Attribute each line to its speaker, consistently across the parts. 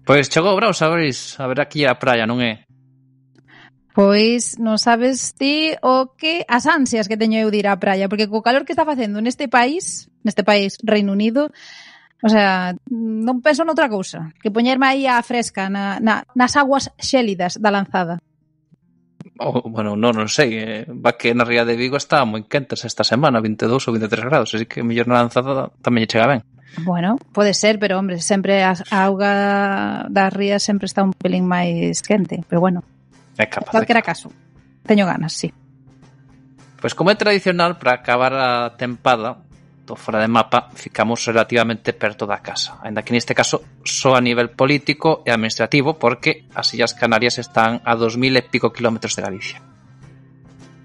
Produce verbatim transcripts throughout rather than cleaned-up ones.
Speaker 1: Pois chegou o Braus, sabéis, a ver aquí a praia, non é?
Speaker 2: Pois non sabes ti o que as ansias que teño eu de ir á praia, porque co calor que está facendo neste país, neste país Reino Unido, o sea, non penso noutra cousa que poñerme aí á fresca na, na, nas aguas xélidas da Lanzada.
Speaker 1: Oh, bueno, non, non sei, eh, va que na Ría de Vigo está moi quentes esta semana, vinte e dous ou vinte e tres grados, así que mellor na Lanzada tamén lle chega ben.
Speaker 2: Bueno, pode ser, pero hombre, sempre a, a auga das rías sempre está un pelín máis quente, pero bueno.
Speaker 1: É capaz.
Speaker 2: Calquera caso, teño ganas, sí.
Speaker 1: Pois como é tradicional, para acabar a tempada do Fora de Mapa, ficamos relativamente perto da casa, ainda que neste caso só a nivel político e administrativo, porque as Illas Canarias están a dos mil e pico kilómetros de Galicia.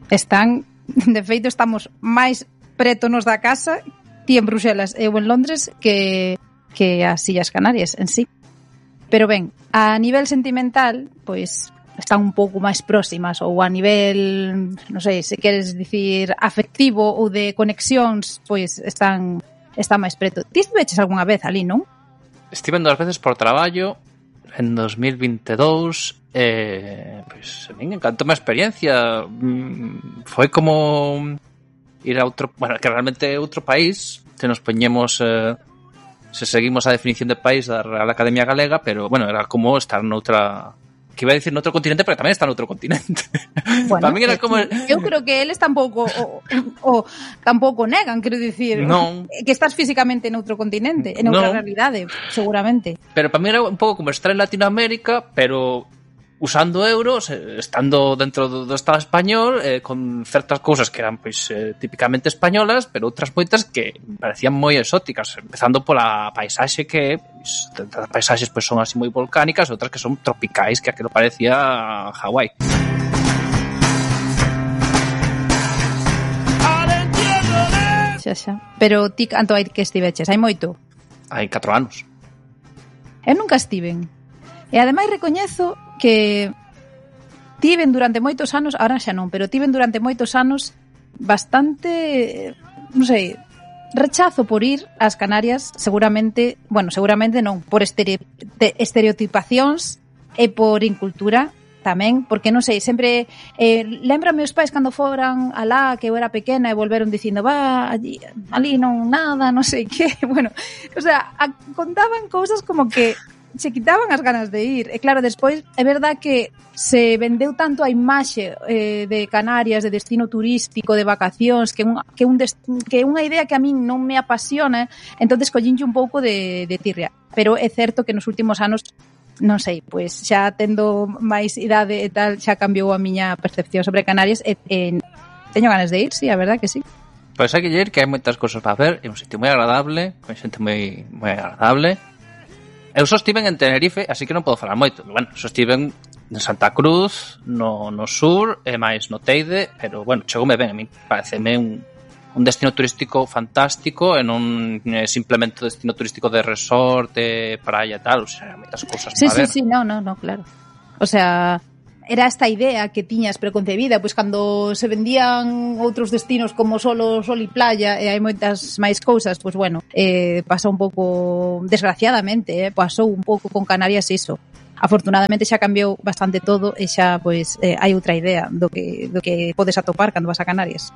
Speaker 2: Están, de feito, estamos máis preto nos da casa, ti en Bruxelas e eu en Londres, que, que as Illas Canarias en sí. Pero ben, a nivel sentimental, pois están un pouco máis próximas, ou a nivel, non sei, se queres dicir afectivo ou de conexións, pois están están máis preto. Ti estiveches algunha vez ali, non?
Speaker 1: Estive dúas veces por traballo en dos mil vinte e dous, eh, pois a min encantou a experiencia. Foi como ir a outro, bueno, que realmente é outro país, se nos poñemos eh, se seguimos a definición de país da Real Academia Galega, pero bueno, era como estar noutra, que iba a decir noutro continente, pero tamén está noutro continente.
Speaker 2: Bueno,
Speaker 1: para mí era como...
Speaker 2: eu creo que eles tampouco o, o, tampouco negan, quero dicir,
Speaker 1: non,
Speaker 2: que estás físicamente noutro continente, en outra
Speaker 1: non,
Speaker 2: realidade, seguramente.
Speaker 1: Pero para mí era un pouco como estar en Latinoamérica, pero usando euros, estando dentro do, do Estado español, eh, con certas cousas que eran pois eh, típicamente españolas, pero outras moitas que parecían moi exóticas, empezando pola paisaxe que pois, as paisaxes pois son así moi volcánicas, outras que son tropicais, que aquilo parecía Hawái.
Speaker 2: Xa, xa. Pero ti canto hai que estiveches? Hai moito?
Speaker 1: Hai catro anos.
Speaker 2: Eu nunca estiven. E ademais recoñezo que tiven durante moitos anos, ahora xa non, pero tiven durante moitos anos bastante, non sei, rechazo por ir ás Canarias, seguramente, bueno, seguramente non, por estere, estereotipacións e por incultura tamén, porque non sei, sempre eh, lembra meus pais cando foran alá, que eu era pequena e volveron dicindo, va, allí, ali non nada, non sei que, bueno, o sea, a, contaban cousas como que se quitaban as ganas de ir. E claro, despois é verdad que se vendeu tanto a imaxe eh, de Canarias, de destino turístico, de vacacións, que un, que un dest... que unha idea que a min non me apasiona, entonces collinche un pouco de, de tirria. Pero é certo que nos últimos anos, non sei, pois xa tendo máis idade e tal, xa cambiou a miña percepción sobre Canarias e, e teño ganas de ir, sí, a verdad que sí.
Speaker 1: Pois hai que ir, que hai moitas cousas para ver, é un sitio moi agradable, con xente moi, moi agradable. Eu só estiven en Tenerife, así que non podo falar moito. Bueno, só estiven en Santa Cruz, no, no sur, e máis no Teide, pero, bueno, chegoume ben a mí. Pareceme un, un destino turístico fantástico, e non é simplemente un destino turístico de resort, de praia e tal, o sea, moitas cousas
Speaker 2: sí,
Speaker 1: para
Speaker 2: sí,
Speaker 1: ver.
Speaker 2: Sí, sí, no, no, no, claro. O sea, era esta idea que tiñas preconcebida, pois cando se vendían outros destinos como solo sol e playa e hai moitas máis cousas, pois bueno, eh, pasa un pouco, desgraciadamente, eh, pasou un pouco con Canarias iso. Afortunadamente xa cambiou bastante todo e xa pois eh, hai outra idea do que do que podes atopar cando vas a Canarias.